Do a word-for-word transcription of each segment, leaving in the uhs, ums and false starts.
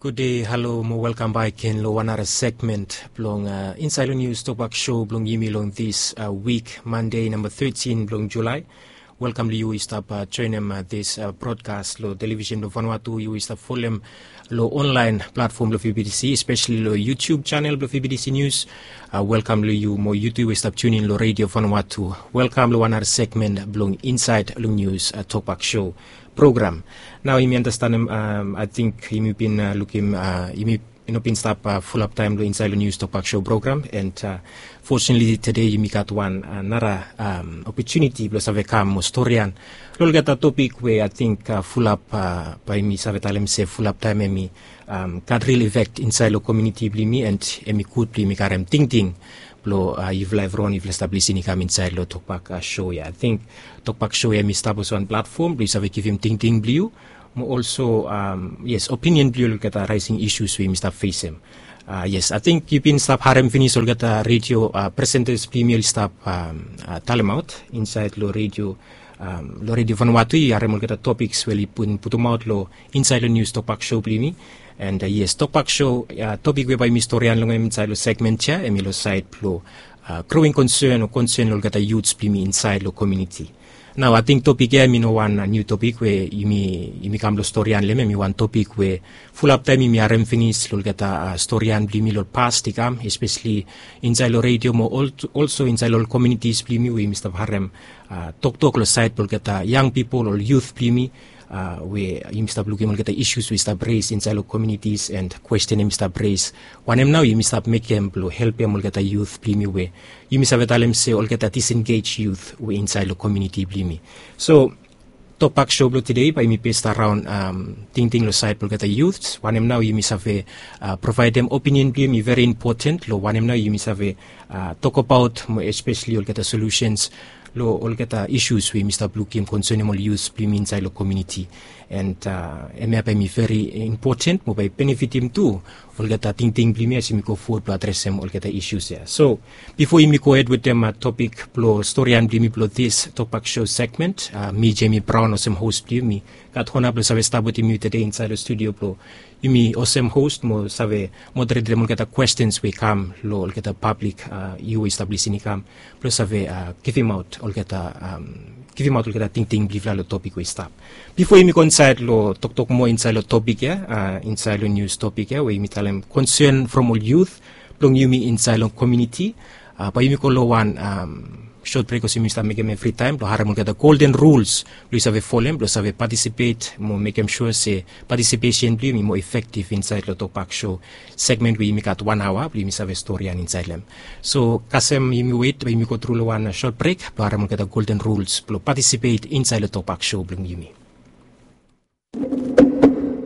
Gud dei, halo mo welkam bak gen lo wan nara segmen blong, uh, Insaed lo Nius Tokbak Show blong yumi long dis, uh, wik, Mande namba tetin blong Julae. Welkam lo yu i stap, uh, joenem, uh, dis, uh, brodkas lo television blong Vanuatu, yu i stap folem lo onlaen platfom blong V B T C, espeseli lo YouTube channel blong V B T C News. Uh, welkam lo yu mo yu tu i stap tunin lo Radio Vanuatu. Welkam lo wan nara segmen blong Insaed lo Nius, uh, Tokbak Show program. Nao yumi anastenem, um, ating yumi bin, uh, lukim, uh, yumi i no bin stap, uh, fulap taem lo Insaed lo Nius Tokbak Show program, and, uh, fortunately tede yumi gat wan, uh, nara, um, opotuniti blong save kam mo storian lo olgeta topik we ating, uh, fulap, uh, bae yumi save talem se fulap taem hemi, um, gat ril efek insaed lo komuniti blong yumi, and hemi gud blong yumi karem tingting blong, uh, yufala evriwan, yufala stap lisin i kam insaed lo Tokbak, uh, Show ya. Ating Tokbak Show ya hemi stap olsem wan platfom blong yu save givim tingting blong yu mo olso, um, yes, opinion blong yu lo olgeta raesing isus we yumi stap fesem. Uh, yes, ating yu bin stap harem finis olgeta radio, uh, presentas blong yumi oli stap, um, uh, talemaot insaed lo radio, um, lo Radio Vanuatu, yu harem olgeta topiks we oli bin putumaot lo Insaed lo Nius Tokbak Show blong yumi. And, uh, yes, Tokbak Show, uh, topik we bae yumi storian long hem insaed lo segmen ya hemi lo saed blo, uh, growing concern o concern lo olgeta youths blong yumi insaed lo komuniti. Nao ating topik ya hemi no wan, uh, niu topik we yumi, yumi kam lo storian lo hem, hemi wan topik we fulap taem yumi harem finis lo olgeta, uh, storian blong yumi lo ol past i kam, espeseli insaed lo radio mo ol-, olso insaed lo ol komunitis blong yumi we yumi stap harem, uh, toktok lo saed blo olgeta yang pipol, ol yut blong yumi, uh, we yumi stap lukim olgeta isus we i stap res insaed lo komunitis, and kwesten hemi stap res. Wanem nao yumi stap mekem blo helpem olgeta yut blong yumi we yumi save talem se olgeta disengej yut we insaed lo komuniti blong yumi. So Tokbak Show blo tede bae yumi bes araon, um, tingting lo saed blo olgeta yut. Wanem nao yumi save, uh, provaedem opinion blong yumi, veri impoten lo wanem nao yumi save, uh, tokbaot mo espeseli olgeta solusens lo olgeta isus we yumi stap lukim konsenem ol yut blong yumi insaed lo komuniti. And, uh, hemia bae hemi veri impoten mo bae i benefitim tu olgeta tingting blong yumi as yumi go fowod blo adresem olgeta isus ya. So bifo yumi gohed wetem, uh, topik blo storian blong yumi blo dis Tokbak Show segmen, uh, mi Jemi Braon olsem hos blong yumi gat ona blo save stap wetem yu tede insaed lo studio blo yumi olsem hos mo save moderetem olgeta kwestens we i kam lo olgeta pablik, uh, yu we i stap lisin i kam blo save, uh, givimaot olgeta, um, givimaot olgeta tingting blong yufala lo topik we i stap. Bifo yumi go insaed lo toktok moa insaed lo topik ya, uh, insaed lo nius topik ya we yumi talem konsen from ol yut blong yumi insaed lo komuniti, uh, bae yumi go lo wan, um, sot brek olsem yumi stap mekem evritaem blo harem olgeta golden rules blo yu save folem blo save patisipet mo mekem sua se patisipesen blong yumi i moa efektif insaed lo Tokbak Show segmen we yumi gat wan aoa blo yumi save storian insaed lo hem. So kasem yumi wet, bae yumi gotru lo wan, uh, sot brek blo harem olgeta golden rules blo patisipet insaed lo Tokbak Show blong yumi.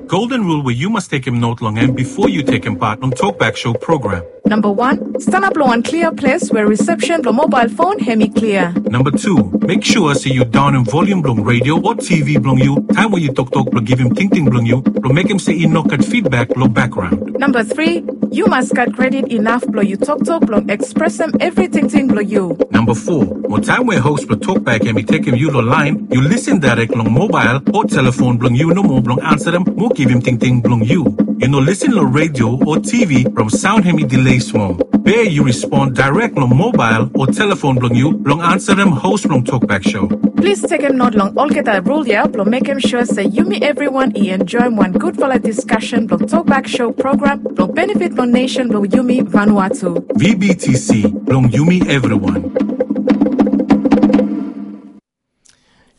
Golden rule we yu mas tekem not long hem bifo yu tekem pat long Tokbak Show program. Namba wan, stanap long wan klia ples we risepsen blong mobael fon hemi klia. Namba tu, mek sua se yu daonem volium blong redio o T V blong yu taem we yu toktok blo givim tingting blong yu blo mekem se i no gat fidbak lo bakgraon. Namba tri, yu mas gat kredit inaf blo yu toktok blo ekspresem evri tingting blo yu. Namba fo, mo taem we hos blo Tokbak hemi tekem yu lo laen, yu lisin daerek long mobael o telefon blong yu nomo blong ansarem mo givim tingting blong yu. Yu no lisin lo redio o T V from saon hemi delay smol. Be yu respon daerek long mobael o telefon blong yu blong ansarem hos blong Tokbak Show. Plis tekem not long olgeta rul ya blo mekem sua se yumi evriwan i enjoem wan gudfala diskasen blong Tokbak Show program blong benefit blong nesen blong yumi Vanuatu. V B T C, blong yumi evriwan.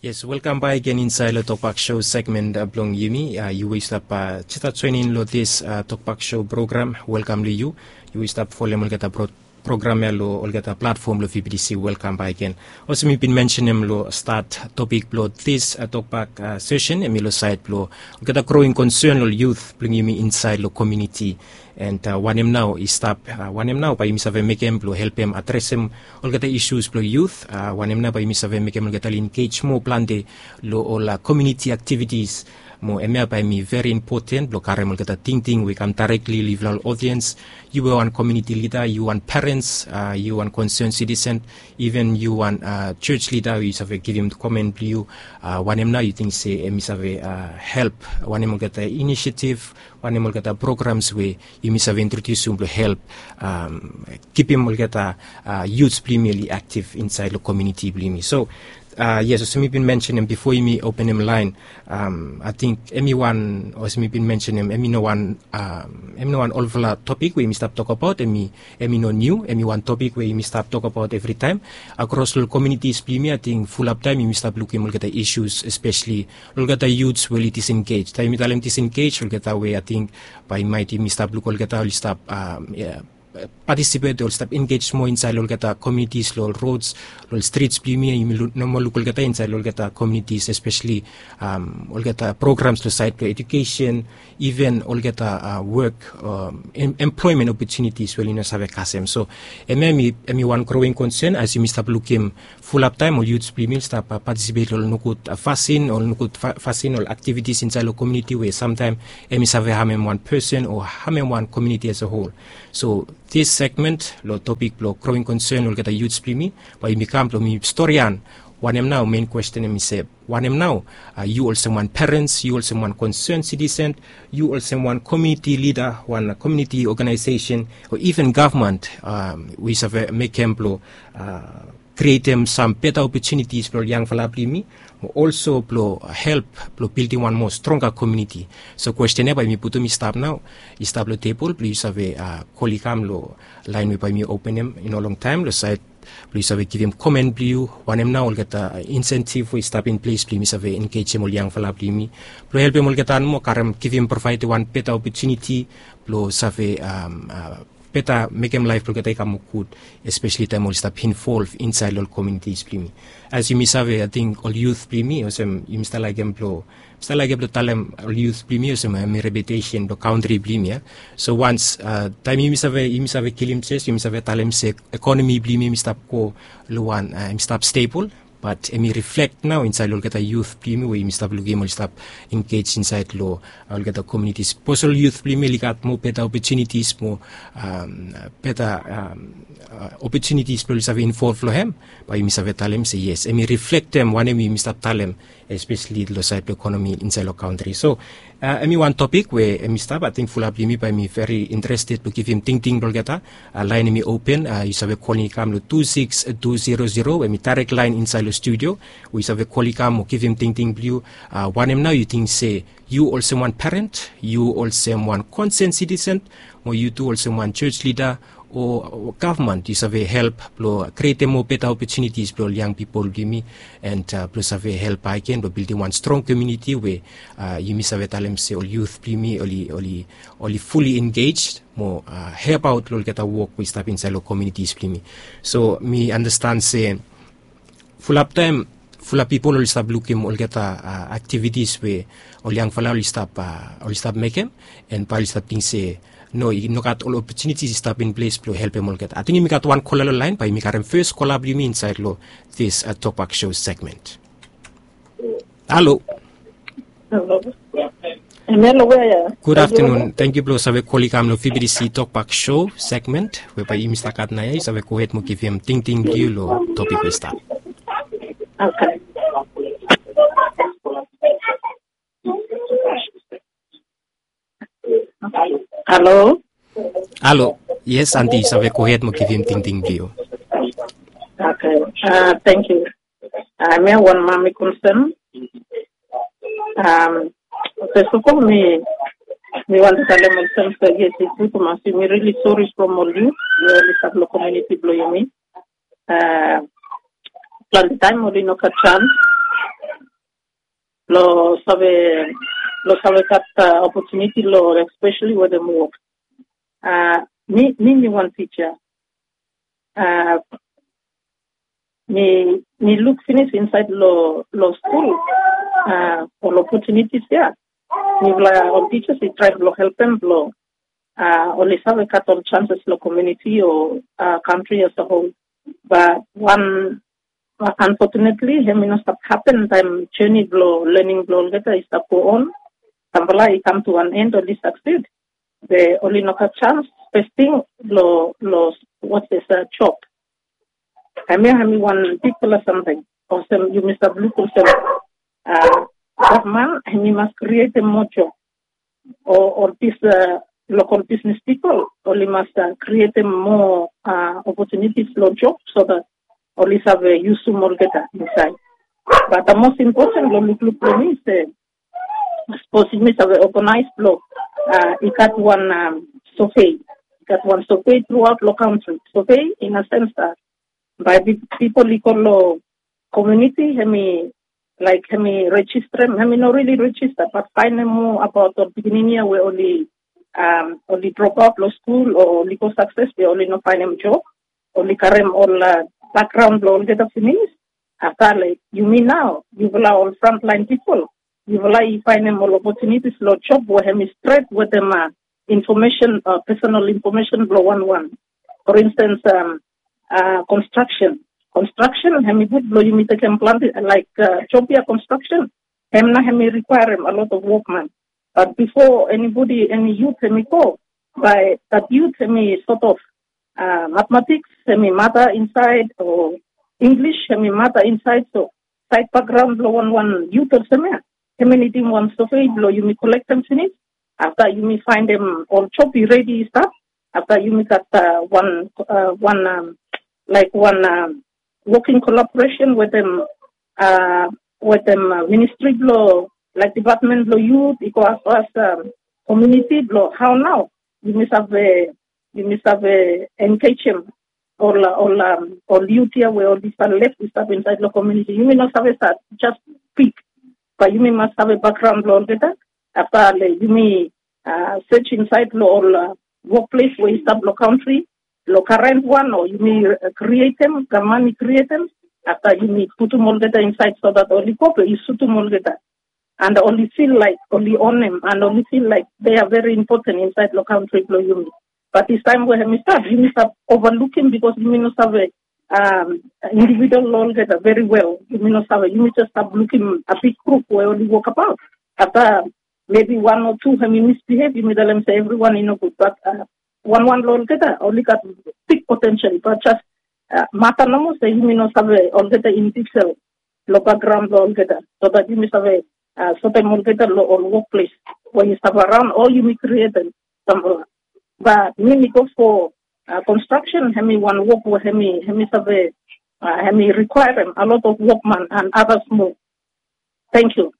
Yes, welkam bak gen insaed lo Tokbak Show segmen, uh, blong yumi. Uh, yu we i stap, uh, jistas joenem lo dis, uh, Tokbak Show program, welkam lo yu. Yu we i stap folem olgeta pro-, program ya lo olgeta platfom lo V B T C, welkam bak gen. Olsem mi bin mensenem lo stat, topik blo dis, uh, Tokbak, uh, sesen hemi lo saed blo olgeta growing concern lo ol yut blong yumi insaed lo komuniti. And, uh, wanem nao i stap, uh, wanem nao bae yumi save mekem blo helpem adresem olgeta isus blo yut, uh, wanem nao bae yumi save mekem olgeta oli engej moa plante lo ol, uh, komuniti aktivitis, Mo hemia bae hemi veri impoten blong karem olgeta tingting we i kam daerekli long yufala ol odiens. Yu we wan komiuniti lida, yu wan perens, yu wan konsern sitisen, iven yu wan jos lida we yu save givim komen blong yu. Wanem nao yu ting se hemi save help? Wanem olgeta inisiativ, wanem olgeta programs we yumi save introdiusim blong help kipim olgeta yuts blong yumi oli aktiv insaed long komiuniti blong yumi? So yes, olsem mi bin mensenem bifo yumi openem laen, ating hemi wan, olsem mi bin mensenem, hemi no wan hemi no wan olfala topik we yumi stap tokabaot. Hemi hemi no niu, hemi wan topik we yumi stap tokabaot evritaem akros long komiunitis blong yumi. Ating fulap taem yumi stap lukim olgeta isus, espeseli olgeta yuts we oli disengej. Taem yumi talem disengej, olgeta we ating bae maet yumi stap luk olgeta oli stap patisipet, oli stap engej moa insaed long olgeta komiunitis, long ol rods, long ol strits blong yumi. Yumi no moa luk olgeta insaed long olgeta komiunitis, espeseli olgeta programs long saed blong ejukesen, iven olgeta wok, emploemen opotunitis we oli no save kasem. So hemia hemi wan growing konsen as yumi stap lukim fulap taem ol yuts blong yumi oli stap patisipet long ol nogud fasin, ol nogud fasin, ol aktivitis insaed long komiuniti we samtaem hemi save hamem wan pesen o hamem wan komiuniti as a hol. So dis segmen long topik blong growing konsen olgeta yuts blong yumi, bae yumi kam blong yumi storian wanem nao, mein kwesten hemi se wanem nao yu olsem wan perens, yu olsem wan konsern sitisen, yu olsem wan komiuniti lida, wan komiuniti oganaesesen, o iven gavman we yu save mekem blong krietem sam beta opotunitis blong ol yangfala blong yumi, mo olso blong help blong bildim wan moa stronga komiuniti. So kwesten ya bae yumi putum i stap nao, i stap long tebol blong yu save kol i kam long laen we bae yumi openem i no longtaem long saed blong yu save givim komen blong yu. Wanem nao olgeta insentiv we i stap in ples blong yumi save engejem ol yangfala blong yumi blong helpem olgeta nomo karem, givim, provaedem wan beta opotuniti blong save beta mekem laef blong olgeta i kam moa gud, espeseli taem oli stap involv insaed long ol komiunitis blong yumi. As yumi save, ating ol yut blong yumi, olsem yumi stap laekem blong mi stap laekem blong talem ol yut blong yumi olsem hemi reputesen blong kantri blong yumi ya. So wans taem yumi save, yumi save kilim jes, yumi save talem se ekonomi blong yumi hemi stap go long wan, hemi stap stebol, bat hemi riflek nao insaed long olgeta yut blong yumi we yumi stap lukim oli stap engej insaed long olgeta komiunitis. Sapos ol yut blong yumi oli gat moa beta opotunitis, moa beta opotunitis blong oli save involv long hem, bae yumi save talem se yes, hemi riflektem wanem yumi stap talem, espeseli long saed blong ekonomi insaed long kantri. So hemi wan topik we hemi stap, ating fulap blong yumi bae yumi veri interested blong givim tingting blong olgeta. Laen hemi open, yu save kol i kam long tu sikis tu zero zero, hemi daerek laen insaed long studio we yu save kol i kam mo givim tingting blong yu. Wanem nao yu ting se yu olsem wan peren, yu olsem wan konsern sitisen, mo yu tu olsem wan jos lida o gavman, yu save help blong krietem moa beta opotunitis blong ol yang pipol blong yumi, and blong save help bakegen blong bildim wan strong komiuniti we yumi save talem se ol yut blong yumi oli, oli, oli fuli engej mo helpaot long olgeta wok we i stap insaed long komiunitis blong yumi. So mi andastan se fulap taem fulap pipol oli stap lukim olgeta aktivitis we ol yangfala oli stap, oli stap mekem, and bae oli stap ting se no, i no gat ol opotunitis i stap in ples blong helpem olgeta. Ating yumi gat wan kola long laen, bae yumi karem fes kola blong yumi insaed long dis Tokbak Show segmen. Halo. Halo. Hemia long wea ya? Gud aftanun. Tangkiu blong save kol i kam long V B T C Tokbak Show segmen we bae yumi stap gat naoia. Yu save gohed mo givim tingting blong yu long topik we i stap. Okay. Halo. Halo. Yes, anti, yu save gohed mo givim tingting blong yu. Okay. Tangkiu. Hemia wan mami konsen. Fes of ol mi, mi wantem talem olsem se yes, i tru tumas, yumi rili sori from ol yut we oli stap long komiuniti blong yumi. Plante taem oli no gat sans blong save, blong save gat opotuniti long espeseli wetem wok. Mi, mi, mi wan tija. Mi, mi luk finis insaed long, long skul ol opotunitis ya. Mifala ol tijas i traem blong helpem blong oli save gat ol sanses long komiuniti o kantri as a hol. Bat wan, anfotunetli, hemi no stap hapen taem joni blong lening blong olgeta i stap go on. Sampela i kam tu wan end, oli succeed. Be oli no gat chance first thing lo lo what's this uh, job. Hemia hemi wan bigfala something. Olsem yumi stap luk olsem uh, gavman hemi mas createm moa job. O ol bis uh, local business people oli mas uh, createm moa uh, opportunities lo job so that oli save yusum olgeta inside. But the most important lo lukluk lo mi se sapos yumi save organize blo uh, i gat wan um, survey, i gat wan survey throughout lo country. Survey in a sense that by people i go lo community, hemi like hemi register, hemi no really register but find mo about ol pikinini ya we oli um, oli drop out lo school o oli go success be oli no findem job, oli karem ol uh, background lo olgeta finish. After like yumi now, yufala ol frontline people, yufala i findem ol opportunities lo job we hemi straight wetem uh, information uh, personal information blo wan wan. For instance um, uh, construction. Construction hemi gud blo yumi tekem planti like uh, job ya construction, hem na hemi requirem a lot of workman. But before anybody, any youth hemi go, by that youth hemi sort of uh, mathematics hemi mata inside o English hemi mata inside. So side background blo wan wan youth olsem ya, hemi nidim wan survey blo yumi kolektem finish. After yumi findem ol job i ready i stap, after yumi gat uh, one uh, one um, like one um, working collaboration with them uh, with them uh, ministry blo like department blo youth i go as as um, community blo how now yumi save yumi save engage him ol ol um, ol youth ya we ol disa left i stap inside lo community yumi no save sa just pick. But yumi mas save background blo olgeta. After le yumi uh, search inside lo ol uh, workplace we i stap lo country lo current one o yumi uh, create them, gavman i create them. After yumi putum olgeta inside so that oli go pe i sutum olgeta and oli feel like oli own them and oli feel like they are very important inside lo country blo yumi. But this time we hemi start yumi start overlook him because yumi no save um, individual lo olgeta very well. Yumi no save, yumi just start looking a big group we oli work about. After maybe one or two hemi misbehave, yumi tell them say everyone i no good. But uh, one one lo olgeta oli gat big potential, but just uh, mata nomo se yumi no save olgeta in detail lo background lo olgeta so that yumi save uh, sotem olgeta lo ol workplace we yu save around all yumi create them. Sample. But mi mi go for uh, construction, hemi wan work we hemi hemi save uh, hemi require them a lot of workman and others more. Thank you.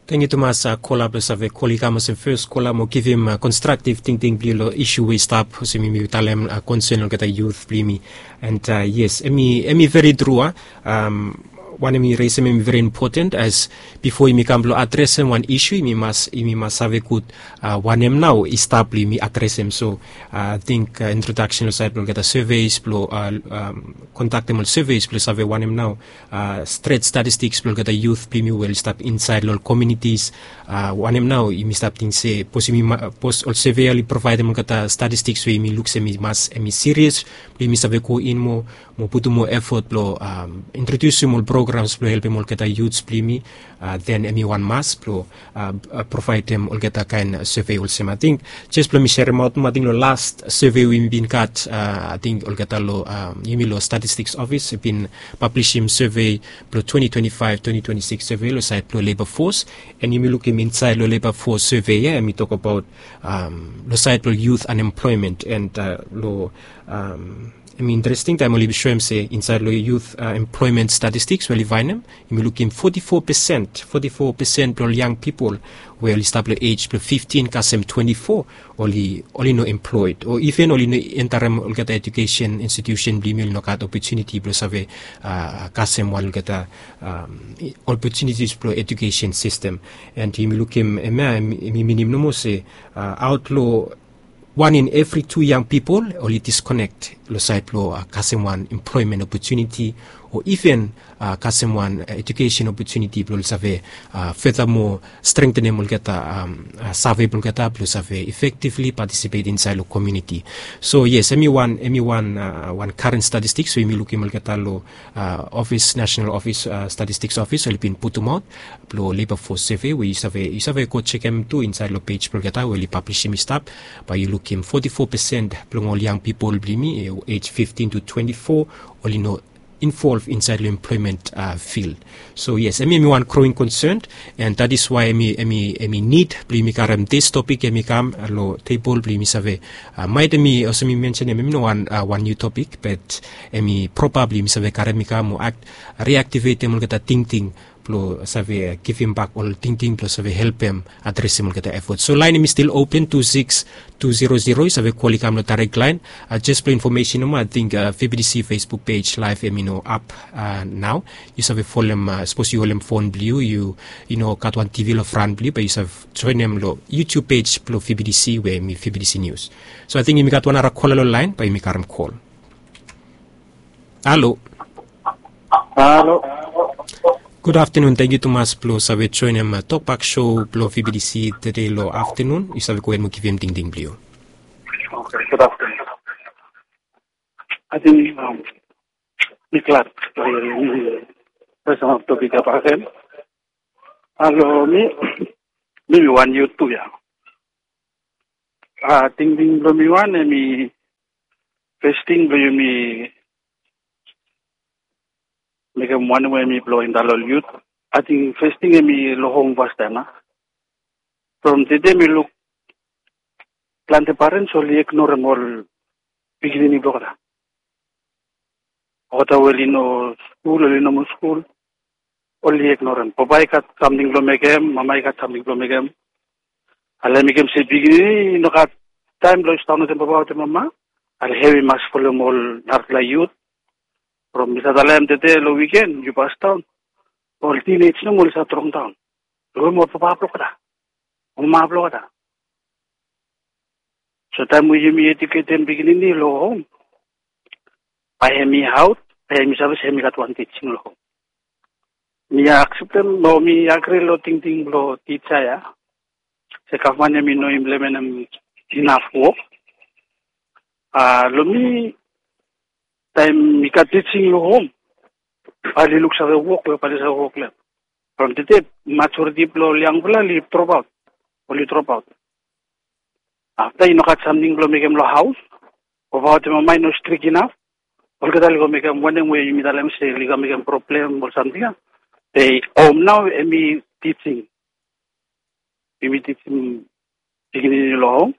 Thank you tumas uh, kola blo save kol i kam olsem first kola mo givim uh, constructive tingting bli lo issue we i stap olsem yumi talem uh, concern olgeta youth bli mi. And uh, yes, emi emi very true. Uh, um, wanem i resem emi very important as before imi kam blo adresem wan issue imi mas imi mas save gud uh, wanem nao i stap blo imi adresem. So uh, I think uh, introduction lo side blo olgeta surveys blo uh, um, kontaktem ol surveys blo save wanem nao uh, stret statistics blo olgeta youth blo imi we oli stap inside lo ol communities. Uh, wanem nao imi stap ting se pos imi pos ol survey oli providem olgeta statistics we imi luk se imi mas imi serious blo imi save go in mo mo putum moa effort blo um, introdusim ol programs blo helpim olgeta youths blo yumi. Uh, then emi wan mas blo uh, uh, providem olgeta kain survey olsem ating jes blo mi serem aut mo ating lo last survey we mi bin gat uh, ating olgeta lo um, yumi lo statistics office bin publishim survey blo twenty twenty-five twenty twenty-six survey lo side blo labor force. And yumi lukim inside lo labor force survey ya emi tok abaut um, lo side blo youth unemployment and uh, lo um, I mean, interesting taem oli bin soem se insaed long youth uh, employment statistics we oli faenem, yumi lukim forty-four percent, forty-four percent blong ol young people we oli stap long age blong fifteen kasem twenty-four, oli oli no employed o even oli no entarem olgeta education institution blong yumi, oli no gat opportunity blong save uh, kasem wan olgeta um, opportunities blong education system. And yumi lukim hemia, hemi minim nomo se uh, out long wan in evri tu young pipol oli disconnect long saed blong kasem wan employment opportunity o iven kasem wan ejukesen opotuniti blong ol save fetamo strengtenem olgeta save blong olgeta blong save efektivli patisipet insaed long komiuniti. So yes, em i wan em i wan wan karen statistiks we yumi lukim olgeta long ofis, nasenal ofis, statistiks ofis oli bin putumaot blong leba fos seve we yu save yu save go jekem tu insaed long pej blong olgeta we oli pablisim i stap. Bae yu lukim foti fo pesen blong ol yang pipol blong yumi ej fiftin tu twenti fo oli no involv insaed long emploemen fild. So yes, em i em i wan groing konsen. And dat is wae em i em i em i nid blong yumi karem dis topik em i kam long tebol blong yumi save maet em i olsem mi mensenem em i no wan wan niu topik, bat em i proba blong yumi save karem i kam o akt riaktivetem olgeta tingting blong save givimbak ol tingting blong save helpem adresem olgeta efot. So laen em i stil open tu siks tu zero zero, yu save kol i kam long daerek laen. Jes blong infomesen nomo, ating vbtc facebook pej laef em i no ap nao. Yu save folem sapos yu holem fon blong yu yu i no gat wan tv long fran blong yu bae yu save joenem long youtube pej blong vbtc we em i vbtc nius. So ating yumi gat wan nara kola long laen bae yumi karem kol. Halo. Halo. Gud aftenun, tangkiu tumas blong save joenem tokbak so blong vbtc tede long aftenun. Yu save gohed mo givim tingting blong yu. Oke, gud aftenun. Ating mi glad blong yumi fesem ap topik ya baken. Halo, mi mi mi wan yut tu ya. Tingting blong mi wan em i fes ting blong yumi mekem wanem we em i blong inta long ol yut. Ating fes ting em i long hom fastaem a from tede mi luk plante parens oli ignorem ol pikinini blong olgeta. Olgeta we oli no skul oli no moa skul oli ignorem. Papa i gat samting blong mekem, mama i gat samting blong mekem. Ale mekem se pikinini i no gat taem blong i stap wetem papa wetem mama. Ale hem i mas folem ol narafala yut. From mi save talem tede long wiken yu pastaon ol tinej nomo oli save trongdaon. Lugim ol papa blong olgeta, ol mama blong olgeta. So taem we yumi ejuketem pikinini long hom, bae hem i aot, bae hem i save se hem i gat wan tijing long hom. Mi akseptem o mi agri long tingting blong tija ya se gavman hem i no implementem inaf wok. Long mi taem mi gat tijing long hom, bae oli luksave wok we bae oli save wok long hem. From tede majoriti blong ol yangfala oli dropaot, oli dropaot. Afta i no gat samting blong mekem long haos, o papa wetem mama i no strik inaf, olgeta oli go mekem wanem we yumi talem se oli go mekem problem o samting ya. Be hom nao hem i tijing, yumi tijim pikinini long hom,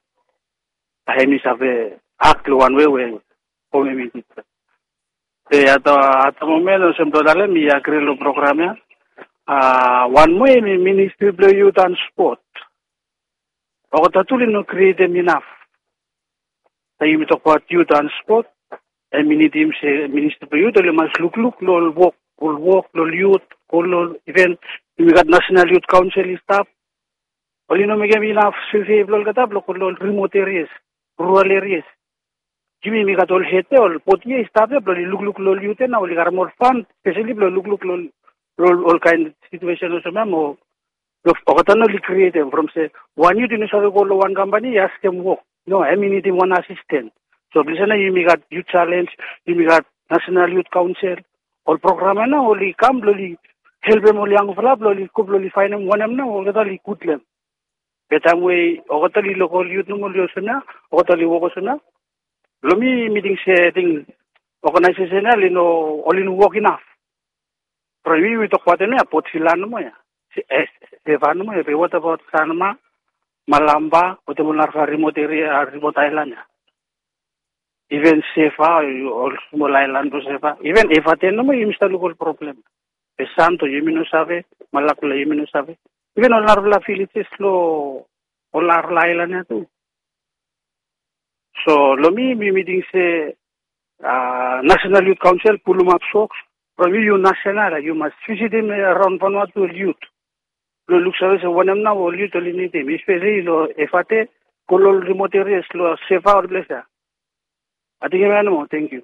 bae hem i save ak long wan wei we hom hem i tijim. Be at the moment olsem blong talem mi agri long program ya. Wan moa hem i ministri blong yut and spot. Olgeta tu oli no krietem inaf. Taem yumi tokbaot yut and spot, hem i nidim se ministri blong yut oli mas lukluk long ol wok, ol wok long ol yut, go long ol iven yumi gat nasenal yut kaonsel i stap. Oli no mekem inaf sevei blong olgeta blong go long ol rimot erias, rural erias. Yumi mi gat ol hed ya, ol bodi ya i stap ya blong oli lukluk long ol yut ya nao oli karem ol fan speseli blong lukluk long ol olkaen situesen olsem ya mo olgeta nao oli krietem from se wan yut i no save go long wan kampani i askem wok. No, hem i nidim wan asisten. So ples ya nao yumi gat yut jalenj, yumi gat nasenal yut kaonsel, ol program ya nao oli kam blong oli helpem ol yangfala blong oli go blong oli faenem wanem nao olgeta oli gud long hem. Be taem we olgeta oli lokol yut nomo oli olsem ya, olgeta oli wok olsem ya. Long mi mi ting se ating oganaesesen ya oli no, oli no wok inaf. From yumi tokbaot hem ya, potsila nomo ya, seva nomo ya, be watabaot sanma, malamba wetem ol narafala rimot eria, rimot aelan ya. Iven seva, ol smol aelan blong seva, iven evate nomo yumi stap luk ol problem. Be santo yumi no save, malakula yumi no save, iven ol narafala vilejes long ol narafala aelan ya tu. So long mi mi mi ting se nasenal yut kaonsel pulumap soks from yu, yu nasenal ya yu mas visitim araon vanua tu ol yut blong luksave se wanem nao ol yut oli nidim, espeseli long evate, go long ol rimot erias long seva, ol ples ya. Ating hem ya nomo, tangkiu.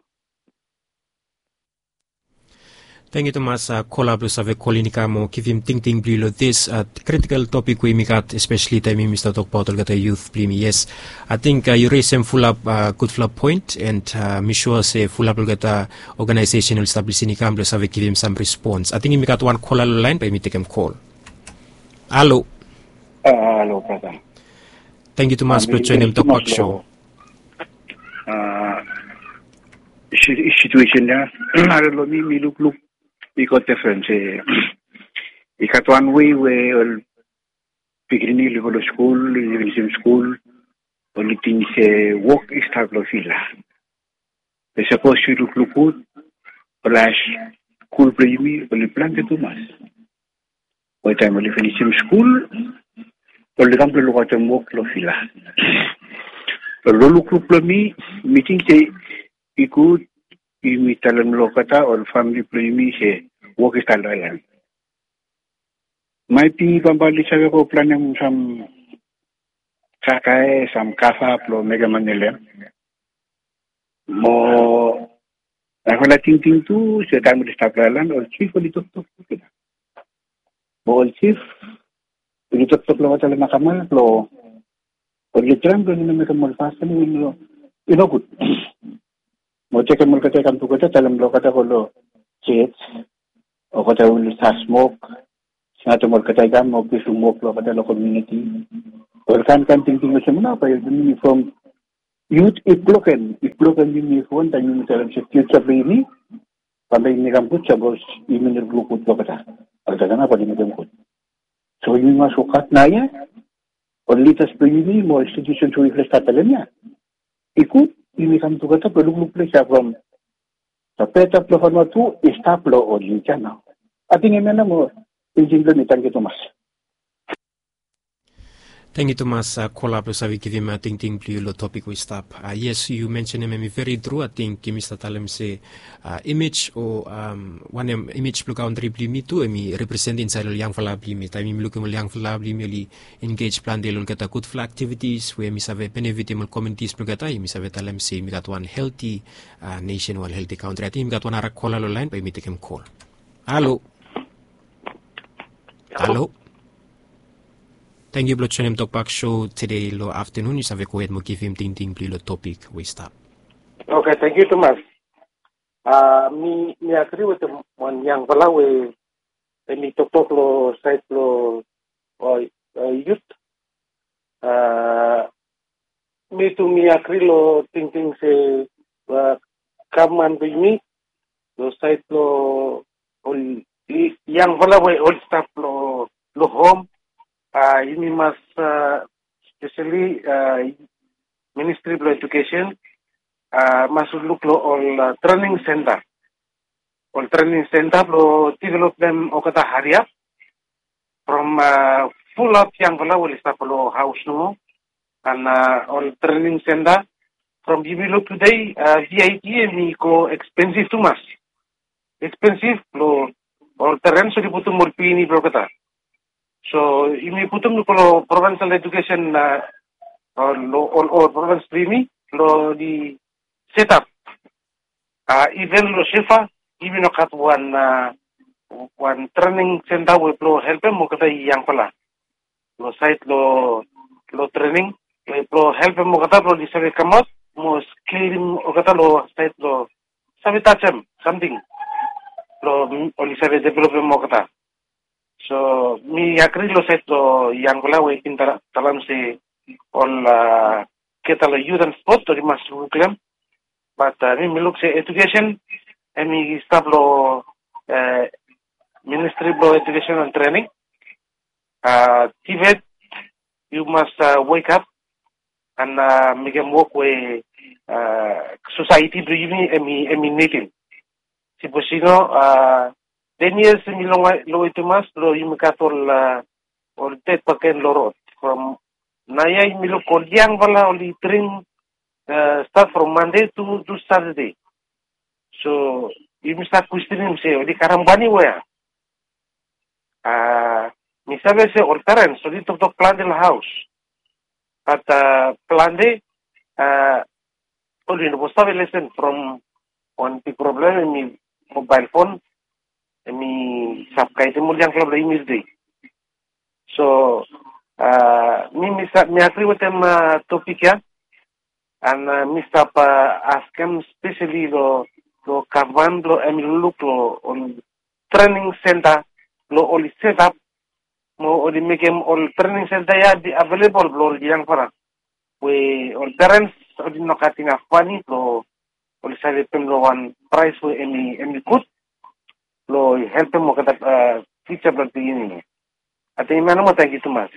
Tangkiu tumas kola blong save kolin i kam mo givim tingting blong yu long this critical topic we yumi gat, especially taem yumi stap tokbaot olgeta youth blong yumi. Yes, ating yu resem fulap gudfala point, and mi sua se fulap olgeta organization oli stap lisin i kam blong save givim sam respons. Ating yumi gat wan kola long laen, bae yumi tekem kol. Halo. Halo brata. Tangkiu tumas blong joenem tokbak show. Situation ya, halo long mi mi lukluk i gat difren se i gat wan wei we ol pikinini oli go long skul, oli finisim skul, oli ting se wok i stap long vila. Be sapos yu lukluk gud, ol hae skul blong yumi oli plante tumas. Wetaem oli finisim skul, oli kam blong lukaotem wok long vila. Long lukluk blong mi, mi ting se i gud yumi talem long olgeta ol famili blong yumi se wok i stap long aelan. Maet bi bambae oli save go planem sam kakae, sam kava blong mekem mane long hem. Mo narafala tingting tu se taem oli stap long aelan, ol jif oli toktok long olgeta. Mo ol jif oli toktok long olgeta long makama blong oli traem blong oli no mekem ol fasin we i no gud. Mo tekem olgeta i kam tugeta, talem blong olgeta go long jos, olgeta oli save smok, singatem olgeta i kam mo givim wok long olgeta long komuniti. Ol kaen kaen tingting olsem nao bae yumi from yut i blokem, i blokem yumi from taem yumi talem se fiuja blong yumi bambae i mekem gud sapos yumi no lukluk gud long olgeta. Olgeta nao bae oli mekem gud. So yumi mas wokhat naoia, ol lidas blong yumi mo ol institutions we yufala i stap talem ya, i gud yumi kam tugeta blong lukluk ples ya from the better blong Vanuatu i stap long ol yut ya nao. Ating hemia nao mo tingting blong mi. Tangkiu tumas. Tangkiu tumas kola blong save givim tingting blong yu long topik we i stap. Yes, yu mensenem hemi veri tru. Ating yumi stap talem se imej o wanem, imej blong kantri blong yumi tu hemi represent insaed ol yangfala blong yumi. Taem yumi lukim ol yangfala blong yumi oli engej plante long olgeta gudfala aktivitis we hemi save benefitim ol komunitis blong olgeta, yumi save talem se yumi gat wan helti nesen, wan helti kantri. Ating yumi gat wan nara kola long laen, bae yumi tekem kol. Halo. Halo. Tangkiu blong joenem tokbak show tede long aftanun. Yu save gohed mo givim tingting blong yu long topik we i stap. Oke, tangkiu tumas. Mi agri wetem wan yangfala we hemi toktok long saed blong yut. Mi tu mi agri long tingting se gavman blong yumi long saed blong ol yangfala we oli stap long hom, yumi mas speseli ministri blong edukesen mas lukluk long ol trening senta, ol trening senta blong developem olgeta hariap from fulap yangfala we oli stap long haos nomo. An ol trening senta from yumi luk tede, vip hemi go ekspensif tumas. Ekspensif blong ol perens oli putum ol pikinini blong olgeta. So yumi putum long provensel edukesen, ol provens blong yumi blong oli setap. Iven long Suva yumi no gat wan, wan trening senta we blong helpem olgeta yangfala long saed long trening we blong helpem olgeta blong oli save kamaot mo skilim olgeta long saed blong save tajem samting blong oli save developem olgeta. So mi agri long saed blong yangfala we i bin talem se olgeta long yut an spot oli mas lukluk long hem. Bat mi mi luk se edukesen hemi stap long ministri blong edukesen an trening. Tibet, yu mas wekap an mekem wok we sosaeti blong yumi hemi nidim. Sapos i no, ten yias hemi longwe tumas blong yumi gat ol ded bakegen long rod. From naoia yumi luk ol yangfala oli dring stat from Mande tu Satade. So yumi stat kwestenem se oli karem mane we ya. Mi save se ol perens oli toktok plante long haos, bat plante oli no save lesen from wan big problem hemi mobael fon. Em i save kaidem ol yangfala blong yumi tudei. So mi mi save mi agri wetem topik ya. And mi stap askem speseli long gavman blong em i lukluk long ol trening senta blong oli setap mo oli mekem ol trening senta ya i avelebol blong ol yangfala we ol perens oli no gat inaf mani blong oli save pem long wan prais we em i gud blong helpem olgeta fija blong pikinini. Ating mi anamo tangkiu tumas.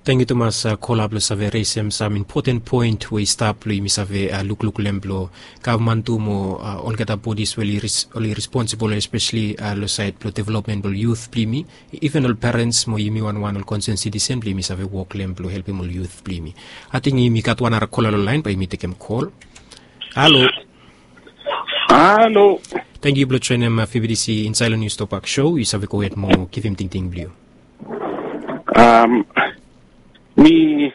Tangkiu tumas kola blong save resem sam impoten poen we i stap blong yumi save lukluk long em blong gavman tu mo olgeta bodis we oli responsibol espeseli long saed blong developmen blong yut blong yumi. Iven ol perens mo yumi wanwan ol konsen sitisen blong yumi save wok long em blong helpem ol yut blong yumi. Ating yumi gat wan ara kola long laen bae yumi tekem kol. Halo. Halo. Tangkiu blong joenem fibidisi insaed long nius topak sho yu save gohed mo givim tingting blong yu. Mi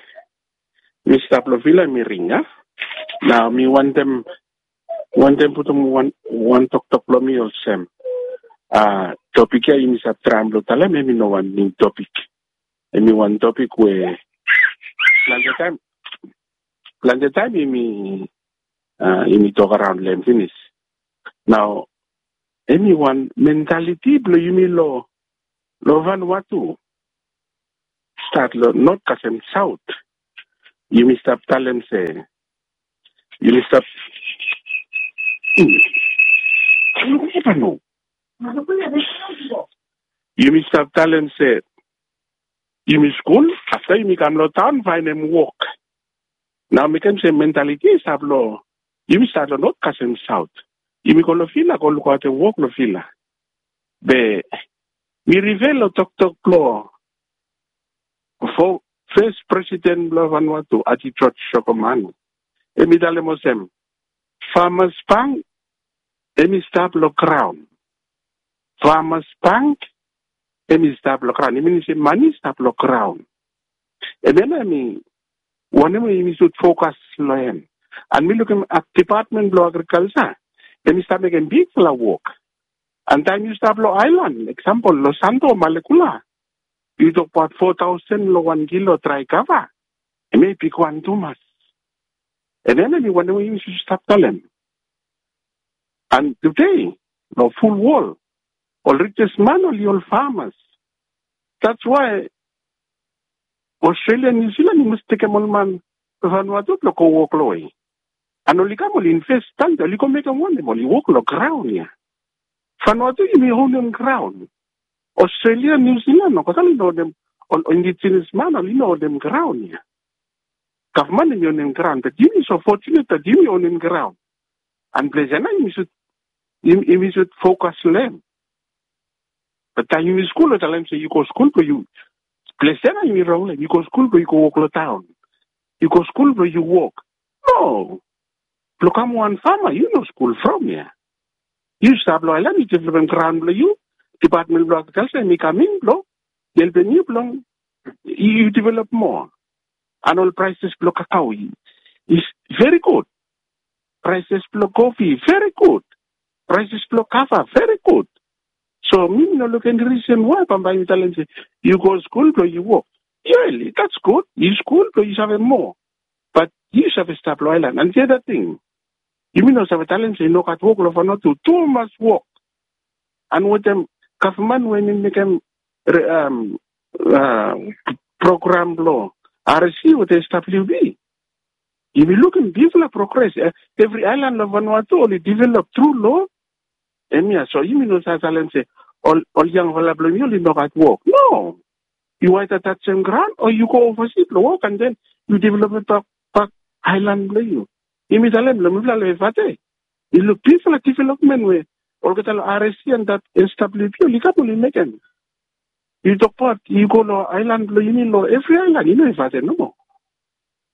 mi stap long vila mi ring a. Nao mi wantem wantem putum wan wan toktok blong mi olsem. Topik ya yumi save traem blong talem em i no wan niu topik. Em i wan topik we plante taem plante taem yumi yumi tok araon long em finis. Nao em i wan mentaliti blong yumi long long Vanuatu. Stat long not kasem saot. Yumi stap talem se yumi stap yumi stap talem se yumi skul afta yumi kam long taon faenem wok. Nao mekem se mentaliti i stap long yumi stat long not kasem saot. Yumi go long vila go lukaotem wok long vila. Be mi rive long toktok blong fes presiden blong Vanuatu Ati Joj Sokoman. Em i talem olsem, famas bank em i stap long graon. Famas bank em i stap long graon. Em i minim se mani i stap long graon. Em ya nao em i wanem we yumi sud fokas long hem. And mi lukim dipatmen blong agrikalsa em i stap mekem bigfala wok. And taem yu stap long aelan eksampol long Santo Malekula, yu tokbaot fo taosen long wan kilo drae kava. Em ya i bigwan tumas. Em ya nao mi wantem we yumi sud stap talem. And tude long ful wol ol rijes man oli ol famas. That's why Australia, New Zealand i mas tekem ol man Vanuatu blong go wok long we. And oli kam oli invest tangde oli go mekem wanem? Oli wok long graon ya. Vanuatu yumi onem graon. Australia, New Zealand olgeta oli no onem. Ol indigenous man oli no onem graon ya. Gavman em i onem graon, but yumi so fortunate that yumi onem graon. And ples ya nao yumi sud yumi sud fokas long hem. Bat taem yumi skul ol talem se yu go skul blong yu. Ples ya nao yumi rong long hem. Yu go skul blong yu go wok long taon. Yu go skul blong yu wok. No. Blong kam wan fama yu no skul from ya. Yu stap long aelan yu developem graon blong yu. Dipatmen blong agrikalsa em i kam in blong helpem yu blong yu develop moa. And ol praeses blong kakao i veri gud. Praeses blong kofi veri gud. Praeses blong kava veri gud. So mi mi no luk eni risen wae bambae yu talem se yu go skul blong yu wok. Yes, that's good. Yu skul blong yu save moa. Bat yu save stap long aelan. And the other thing, yumi no save talem se i no gat wok long Vanuatu. Tumas wok. And wetem gavman we mi mekem program blong R S C wetem S W B, yumi lukim bigfala progres. Evri aelan long Vanuatu oli develop tru long hemia. So yumi no save talem se ol yangfala blong yumi oli no gat wok. No. Yu aeda tajem graon o yu go ovasi blong wok and then yu developem bak aelan blong yu. Yumi talem long mifala long Efate, yu luk bigfala developmen we olgeta long R S C and that S W B oli kam oli mekem. Yu tokbaot yu go long aelan blong yumi long evri aelan, i no Efate nomo.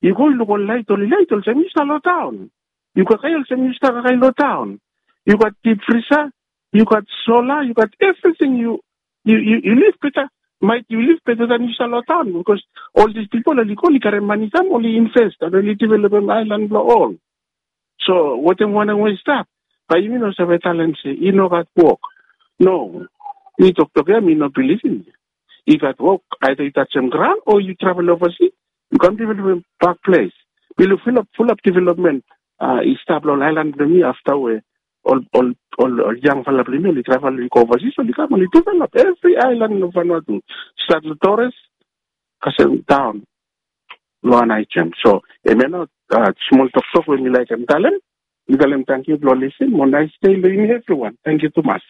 Yu go yu luk ol laet, oli laet olsem yu stap long taon. Yu kakae olsem yu stap kakae long taon. Yu gat dip frisa, yu gat sola, yu gat evriting. Yu yu liv beta. Maet yu liv beta dan yu stap long taon, bikos ol dis pipol oli go oli karem mani kam oli invest and oli developem aelan blong ol. So wetem wanem we i stap, Bae yumi no save talem se i no gat wok. No. Mi toktok ya mi no bilivim. I gat wok, aeda yu tajem graon o yu travel ovasi, yu kam development bak ples. Mi luk fulap fulap development i stap long aelan blong mi afta we ol ol ol ol yangfala blong mi oli travel oli go ovasi, oli kam oli develop evri aelan long Vanuatu, stat long Torres kasem daon long wan aejem. So em ya nao smol toktok we mi laekem talem. Mi talem tangkiu blong lisin mo naes dei long yumi evriwan. Tangkiu tumas.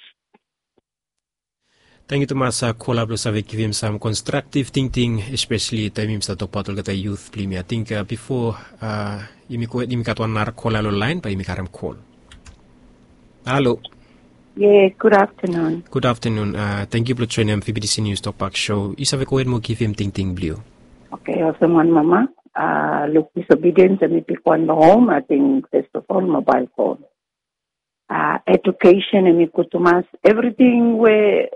Tangkiu tumas kola blong save givim sam konstraktiv tingting, espeseli taem yumi stap tokbaot olgeta yut blong yumi. Ating bipo yumi gat wan nara kola long laen bae yumi karem kol. Halo. Yes, gud aftenun. Gud aftenun. Tangkiu blong joenem fibidisi nius tokbak so. Yu save gohed mo givim tingting blong yu. Oke, olsem wan mama luk disobediens em i bigwan long hom. Ating fes of ol mobael fon, edukesen em i gud tumas. Evriting we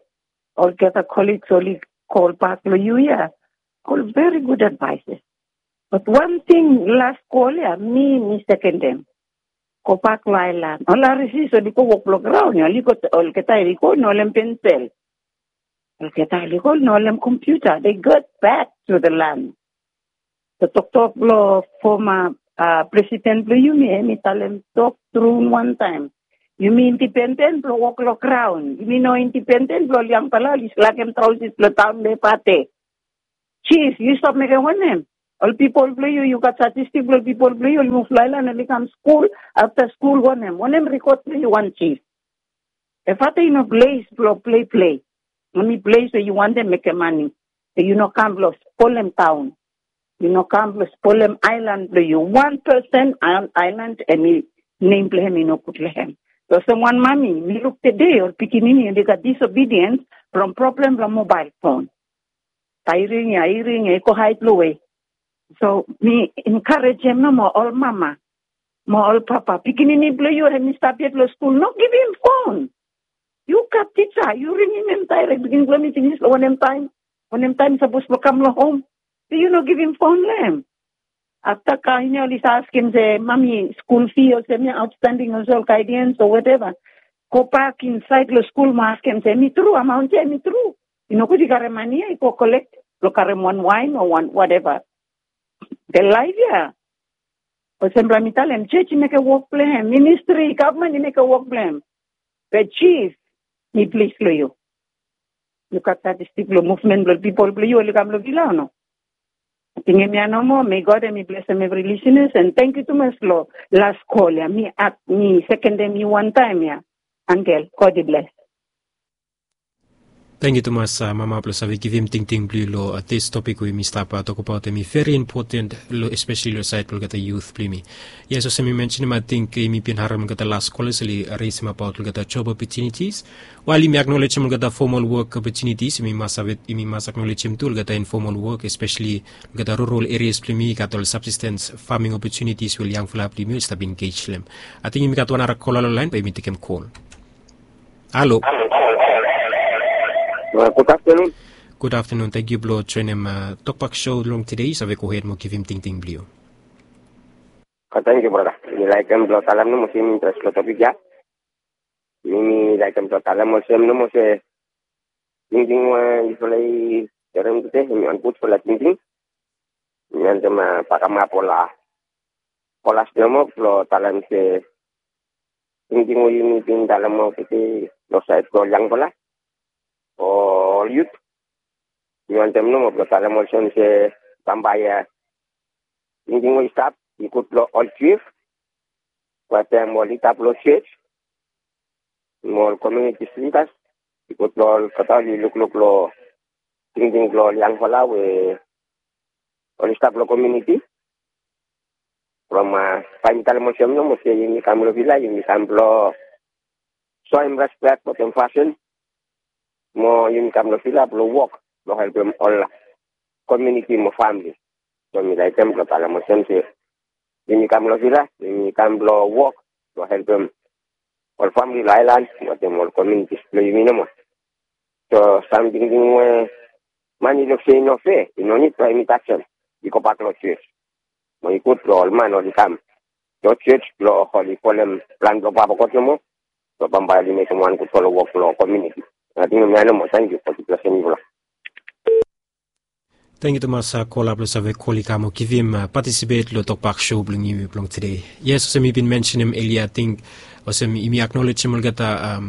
olgeta koliks oli kol bak long yu ya, ol veri gud advaeses. Bat wan ting las kol ya mi mi sekendem. Gobak long aelan, ol arisis oli go wok blong graon ya, oli go olgeta oli go no olem pensel. Olgeta oli go no olem kompiuta. They got back to the land. Toktok blong foma presiden blong yumi em i talem tok tru wantaem. Yumi indipenden blong wok long graon. Yumi no indipenden blong ol yangfala oli slakem traosis blong taon long evate. Jif, yu stap mekem wanem? Ol pipol blong yu, yu gat statistik blong ol pipol blong yu oli muv long aelan oli kam skul, afta skul wanem? Wanem rikod blong yu wan jif? Evate i no ples blong pleple. Em i ples we yu wantem mekem mane. Be yu no kam blong spolem taon. Yu no kam blong spolem aelan blong yu. Wan pesen aelan em i nem blong hem i no gud long hem. Olsem wan mami mi luk tede ol pikinini oli gat disobediens from problem blong mobael fon. Bae i ring ya, i ring ya, i go haed long we. So mi enkarejem nomo ol mama mo ol papa, pikinini blong yu hem i stap yet long skul, no givim fon. Yu gat tisa, yu ringim hem daerek. Pikinini blong mi pinis long wanem taem? Wanem taem i sapos blong kam long hom? Be yu no givim fon long hem. Afta kaen ya oli save askem se mami, skul fi olsem ya aotstanding olsem ol gaedians o wateva. Gobak insaed long skul mo askem se em i tru, amaon ya em i tru? I nogud i karem mane ya i go kolek blong karem wan waen o wan wateva. Be laef ya, olsem blong mi talem, jos i mekem wok blong hem, ministri, gavman i mekem wok blong hem. Be jif, mi plis long yu. Yu gat statistik blong muvmen blong pipol blong yu oli kam long vila o no? Ating hemia nomo. Mei God hem i blesem evri lisinas. An tangkiu tumas long las kol ya. Mi ak mi sekendem yu wantaem ya. Angel, God i bles. Tangkiu tumas mama blong save givim tingting blong yu long dis topik we yumi stap tokbaot. Hem i veri impoten long espeseli long saed blong olgeta yut blong yumi. Yes, olsem mi mensenim, ating yumi bin harem olgeta las kola oli resim abaot olgeta job opotunitis. Wael yumi aknolejem olgeta fomol wok opotunitis, yumi mas aknolejem tu olgeta infomol wok, espeseli olgeta rural erias blong yumi i gat ol sabsistens faming opotunitis we ol yangfala blong yumi oli stap engej long hem. Ating yumi gat wan nara kola long laen bae yumi tekem kol. Halo. Gud aftenun. Gud aftenun. Tangkiu blong joenem tokbak so long tede. Yu save gohed mo givim tingting blong yu. Tangkiu brata. Mi laekem blong talem nomo se mi interes long topik ya. Mi mi laekem blong talem olsem nomo se tingting we yufala i serem tede hem i wan gudfala tingting. Mi wantem bakamap ol kolas nomo blong talem se tingting we yumi bin talem olgeta long saed blong ol yangfala o ol yut. Mi wantem nomo blong talem olsem se bambae ya tingting we i stap i gud long ol jif wetem ol lida blong jos mo ol komiunitis lidas. I gud long olgeta oli lukluk long tingting blong ol yangfala we oli stap long komiuniti. From bae mi talem olsem nomo se yumi kam long vila yumi kam blong soem respek wetem fasin. Mo yumi kam long vila blong wok blong helpem ol komiuniti mo famili. So mi laekem blong talem olsem se yumi kam long vila yumi kam blong wok blong helpem ol famili long aelan wetem ol komiunitis blong yumi nomo. So sam tingting we man i luk se i no fea i no nid blong yumi tajem. I gobak long jos. Mo i gud blong ol man oli kam long jos blong oli folem plan blong Papa God nomo. So bambae oli mekem wan gudfala wok long komuniti. Ating mi anem mo tangkiu fo kipla senivola. Tangkiu tumas kola blong save kol i kam o givim patisipet long tokbak show blong yumi blong tude. Yes, olsem mi bin mensenim elia, ating olsem yumi aknolejem olgeta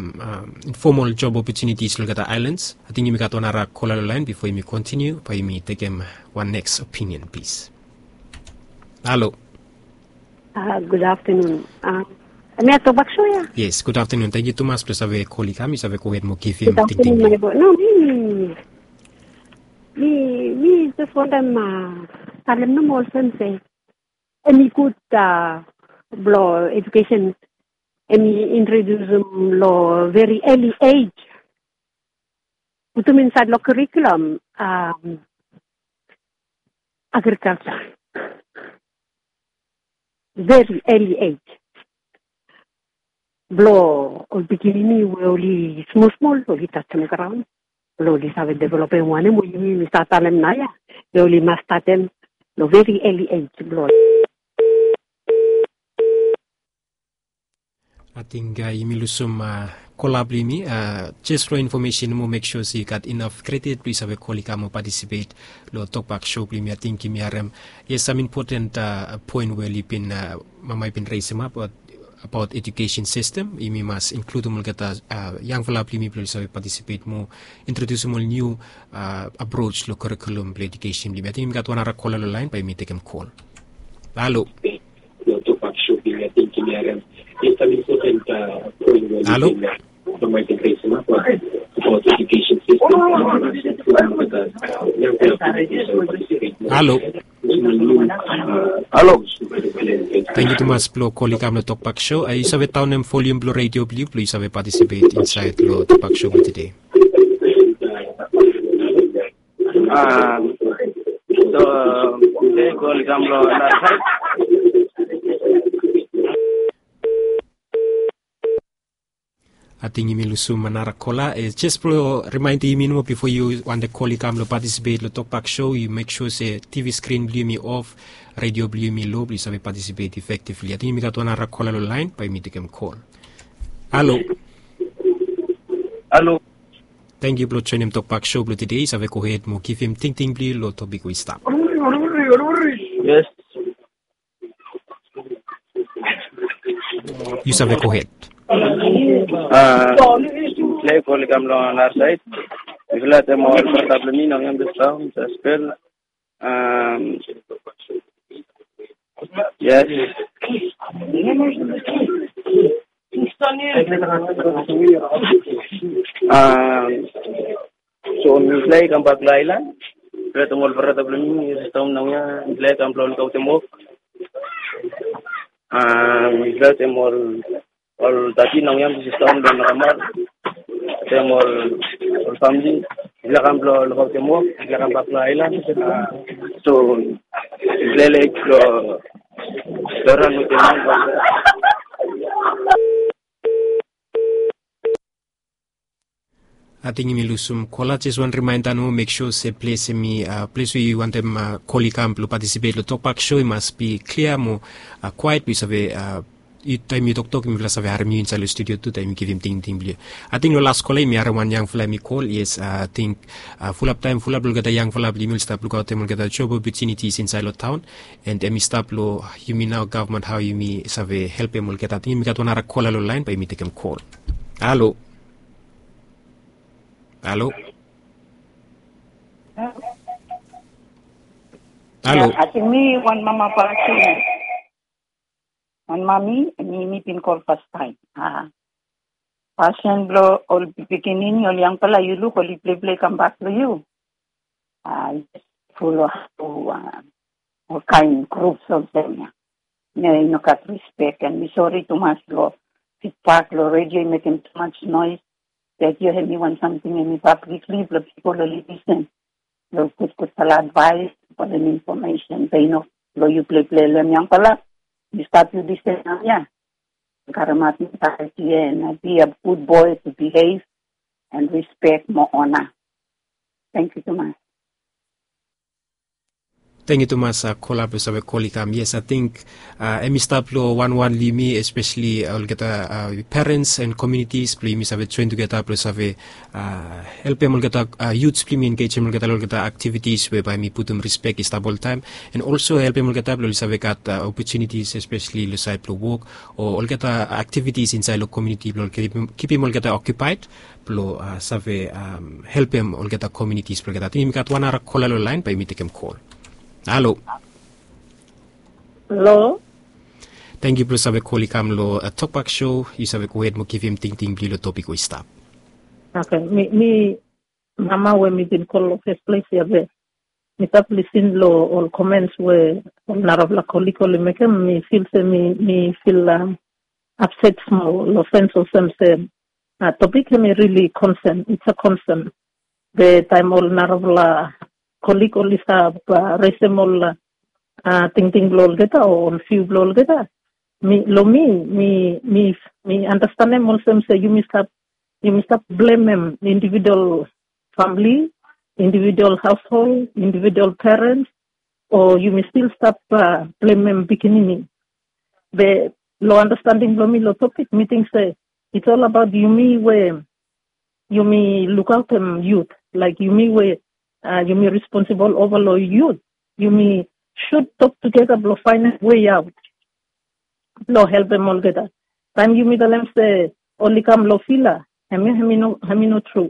informal job opportunities long olgeta islands. Ating yumi gat wan ara kola long lain bifo yumi kontiniu bae yumi tekem wan neks opinion plis. Halo. Gud aftanun. Em ya tokbak show ya? Yes, gud aftanun. Tangkiu tumas blong save kol i kam, yu save gohed mo givim tingting. No, mi mi mi jes wantem talem nomo olsem se em i gud blong edukesen em i introdiusim long veri eli ej. Putum insaed long kurikulum agrikalsa veri eli ej blong ol pikinini we oli smosmol oli tasim graon blong oli save developem wanem we yumi mi save talem naoia. Oli mas statem long veri eli ej blong Ating yumi lusum kola blong yumi. Jes long infomesen nomo, mek sua se yu gat inaf kredit blong yu save kol i kam o patisipet long tokbak show blong yumi. Ating yumi harem, yes, sam impoten poen we oli bin, mama i bin resemap abaot edukesen sistem. Yumi mas inkludim olgeta yangfala blong yumi blong oli save patisipet mo, introdiusim ol niu apros long kurikulum blong edukesen blong yumi. Ating yumi gat wan ara kola long laen bae yumi tekem kol. Halo. Halo. Halo. Halo. Tangkiu tumas blong kol i kam long tokbak show. Yu save daonem volium blong redio blong yu blong yu save patisipet insaed long tokbak show blong tude. So, mi save kol i kam long nara saed. Ating yumi lusum nara kola. Jes blong rimaendim yumi nomo, bifo yu wantem kol i kam long patisipet long tokbak show, yu mek sua se tivi skrin blong yumi of, redio blong yumi lo, blong yu save patisipet efektivli. Ating yumi gat wan nara kola long laen, bae yumi tekem kol. Halo. Halo. Tangkiu blong joenem tokbak show blong tude. Yu save gohed mo givim tingting blong yu long topik we i stap. Yes. Yu save gohed. Mifala i kol i kam long nara saed. Mifala i tem ol brata blong mi naoia, mi save spel. Yes. So mifala i kambak long aelan. Mifala i tem ol brata blong mi, sista, naoia, mifala i kam blong lukaotem wok. Mifala i tem ol ol dadi naoia, mi sista, blong nokamar. Tem ol famili. Mifala i kam blong lukaotem wok, mifala i kambak long aelan. So mifala i lelek long Doran wetem mi. Ating yumi lusum kola. Jes wan rimaenda nomo, mek sua se ples hemi, ples we yu wantem kol i kam blong patisipet long tokbak show i mas bi klia mo kwaet blong yu save, taem yu toktok mifala save harem yu insaed long studio tu taem yu givim tingting blong yu. Ating long las kola yumi harem wan yangfala hemi kol. Yes, ating fulap taem fulap long olgeta yangfala blong yumi oli stap lukaotem olgeta job opotunitis insaed long taon. And hemi stap long yumi nao gavman, hao yumi save helpem olgeta. Ating yumi gat wan nara kola long laen, bae yumi tekem kol. Halo. Halo. Halo. Ating mi wan mama pasin. Wan mami, mi mi bin kol fastaem. Pasin blong ol pikinini, ol yangfala, yu luk oli pleplei kambak long yu. Ful long olkaen grups olsem ya. No, i no gat rispek, and mi sori tumas long fidbak long redio i mekem tumas noes. Redio hemi wan samting hemi pablikli blong pipol oli lisen long gudgudfala advaes, ol infomesen. Be i no blong yu pleplei long hem yangfala. Yu stap yu lisen naoia. Karemaot mentaliti ya and be a good boy to behave and respect mo ona. Tangkiu tumas. Tangkiu tumas kola blong save kol i kam. Yes, ating em i stap long wanwan long yumi, espeseli olgeta perens and communities blong yumi save join tugeta blong save helpem olgeta youths blong yumi, engejem olgeta long olgeta activities we bae mi putum respek i stap oltaem, and also helpem olgeta blong oli save gat opportunities, espeseli long saed blong wok, o olgeta activities insaed long community blong kipim olgeta occupied blong save helpem olgeta communities blong olgeta. Ating yumi gat wan nara kola long laen, bae yumi tekem kol. Halo. Halo. Tangkiu blong save kol i kam long Tokbak Show. Yu save gohed mo givim tingting blong yu long topik we i stap. Oke, mi, mi mama we mi bin kol long fes ples ya be mi stap lisin long ol comments we ol narafala kolik oli mekem, mi fil se mi, mi fil upset smol long sens olsem se topik hem i rili concern, it's a concern. Be taem ol narafala kolik oli stap resem ol tingting blong olgeta o ol viu blong olgeta, mi, long mi, mi, mi, mi andastanem olsem se yumi stap, yumi stap blemem individual famili, individual haoshol, individual perens, o yumi stil stap blemem pikinini. Be long andastanding blong mi long topik, mi ting se it's all about yumi we yumi lukaotem yut, laek yumi we yumi responsibol ova long yut, yumi sud tok tugeta blong faenem wei aot blong helpem olgeta. Taem yumi talem se oli kam long vila, hemia hem i no, hem i no tru.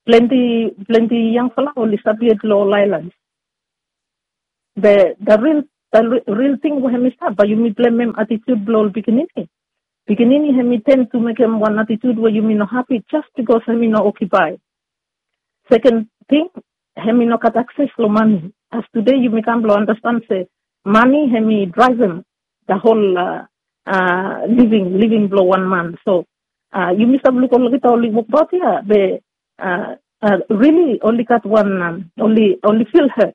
Plante, plante yangfala oli stap yet long ol aelan. Be the real, the real ting we hem i stap, bae yumi blemem atitiud blong ol pikinini. Pikinini hem i ten tu mekem wan atitiud we yumi no hapi jas bikos hem i no okipae. Seken ting, hem i no gat akses long mane. As tude yumi kam blong andastan se mane hem i draevem the whole living, living blong wan man. So yumi stap luk olgeta oli wokbaot ya, be rili oli gat wan, oli, oli fil het.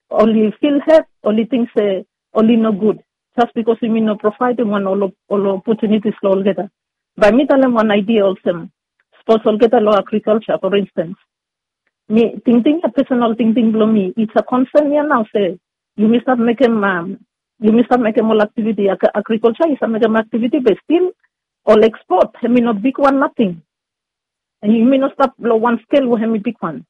Oli fil het, oli ting se oli nogud jas bikos yumi no provaedem wan ol, ol opotunitis long olgeta. Bae mi talem wan aidia olsem, sapos olgeta long agrikalja, for instance, mi tingting ya, pesonal tingting blong mi, it's a concern ya nao se yumi stap mekem, yumi stap mekem ol aktiviti, agrikalja i stap mekem aktiviti, be stil ol ekspot hem i no bigwan nating. Yumi no stap long wan skel we hem i bigwan.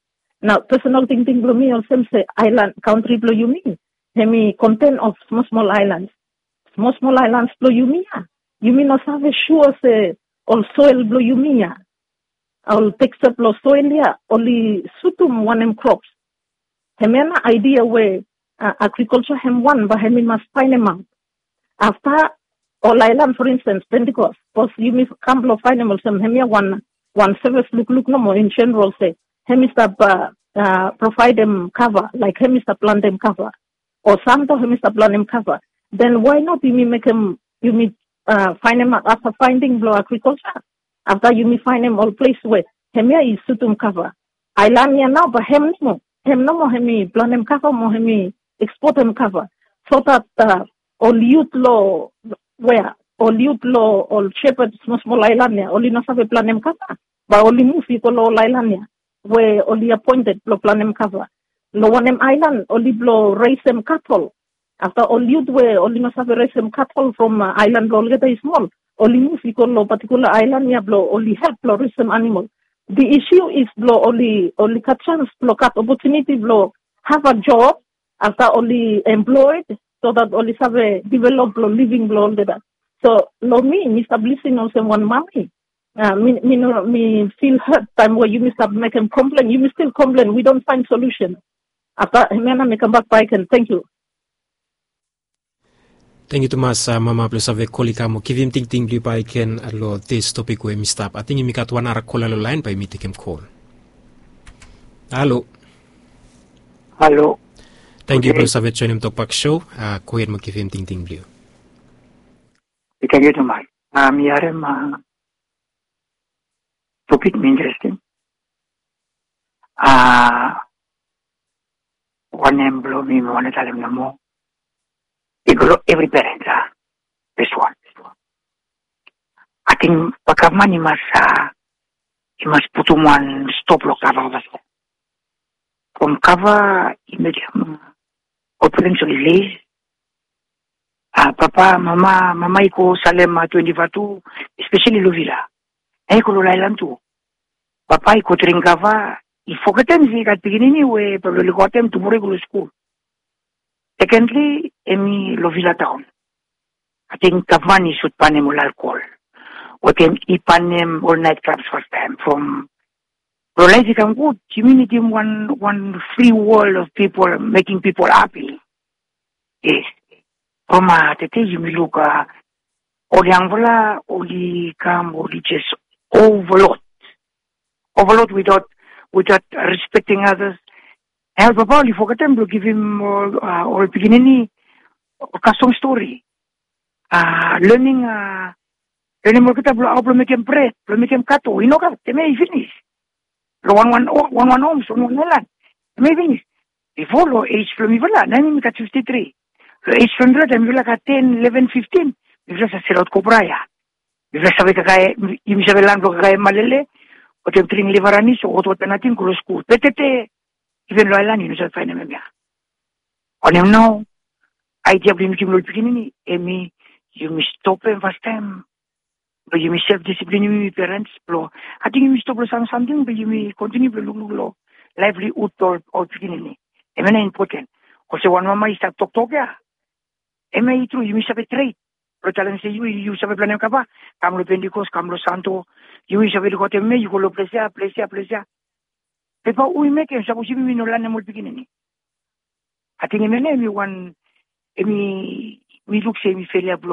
Nao pesonal tingting blong mi olsem se aelan, kantri blong yumi hem i konten of smol smol aelans. Smol smol aelans blong yumi ya, yumi no save sua se ol soel blong yumi ya, ol teksa blong soel ya oli sutum wanem krops. Hemia nao aidia we agrikalja hem wan bae hem i mas faenemaot. Afta ol aelan, for instance, Pentecost, sapos yumi kam blong faenem olsem hemia wan, wan sevis lukluk nomo in jeneral se hem i stap provaedem kava, laek hem i stap plantem kava, o Santo hem i stap plantem kava. Den why not yumi mekem, yumi faenemaot afta faending blong agrikalja, afta yumi faenem ol ples we hemia i sutum kava. Aelan ya nao bae hem nomo, hem nomo hem i plantem kava mo hem i ekspotem kava, so that ol yut long, wea, ol yut long ol sepad smol smol aelan ya oli no save plantem kava, bae oli muv i go long ol aelan ya we oli apoented blong plantem kava. Long wanem aelan oli blong resem katol. Afta ol yut we oli no save resem katol from aelan blong olgeta i smol, oli muv i go long patikula aelan ya blong oli help blong resem animol. The issue is blong oli, oli gat jans blong gat opotuniti blong have a job, afta oli employed, so that oli save develop long living blong olgeta. So long mi, mi stap lisin olsem wan mami, mi, mi no, mi fil het taem we yumi stap mekem komplen, yumi stil komplen, we don't find solution. Afta hemia nao mi kambak bakegen. Tangkiu. Tangkiu tumas mama blong save kol i kam mo givim tingting blong yu bakegen long this topik we mi stap. Ating yumi gat wan nara kola long laen, bae yumi tekem kol. Halo. Halo. Tangkiu blong save joenem Tokbak Show. Gohed mo givim tingting blong yu. Tangkiu tumas. Mi harem topik mi interesting. A, wanem blong mi, mi wantem talem nomo, i go long evri perens, a, fes wan. Ating gavman i mas, a, i mas putum wan stop long kava. From kava i mekem Ol parents oli les. A papa, mama, mama i go salem a twenti fa tu, espeseli long vila. Na i go long laelan tu. Papa i go dring kava, i fogetem se i gat pikinini we bae oli gotem tumora i go long skul. Sekendli, hemi long vila taon. Ating gavman i sut banem ol alkol. Wetem i banem ol naet klabs fastaem from long laef i kam gud, yumi nidim wan wan fri wol of pipol mekim pipol hapi. Yes. From a tete yumi luk a ol yangfala oli kam oli jes overload. Overload without without respecting others. Na ol papa oli fogetem blong givim ol pikinini ol kastom stori. A learning a learning olgeta blong hao blong mekem bred, blong mekem kato, i no gat, hemia i finis. Long wan wan wan wan homes, wan wan aelan, hemia i finis. Bifo long ej blong mifala, na mifala i gat fifti tri. Long ej blong mifala taem mifala i gat ten, ileven, fiftin, mifala save selaot kobra ya. Mifala save kakae, yumi save laen blong kakae malele, wetem dring liva ranis o hotwota nating go long skul. Be tete, iven long aelan i no save faenem hemia. Wanem nao? Aidia blong yumi givim long ol pikinini hemi yumi stopem fastaem blong yumi self disiplin yumi, yumi perens blong ating yumi stop long sam samting blong yumi kontiniu blong lukluk long laevlihud blong ol pikinini. Hemia nao impoten. Olsem wan mama i stap toktok ya. Hemia i tru, yumi save tret blong talem se yu yu save planem kava, kam long Pentikos, kam long Santo, yu yu save lukaotem hemia, yu go long ples ya, ples ya, ples ya. Be bae hu i mekem sapos yumi no lanem ol pikinini? Ating hemia nao hemi wan, hemi mi luk se hemi felia blong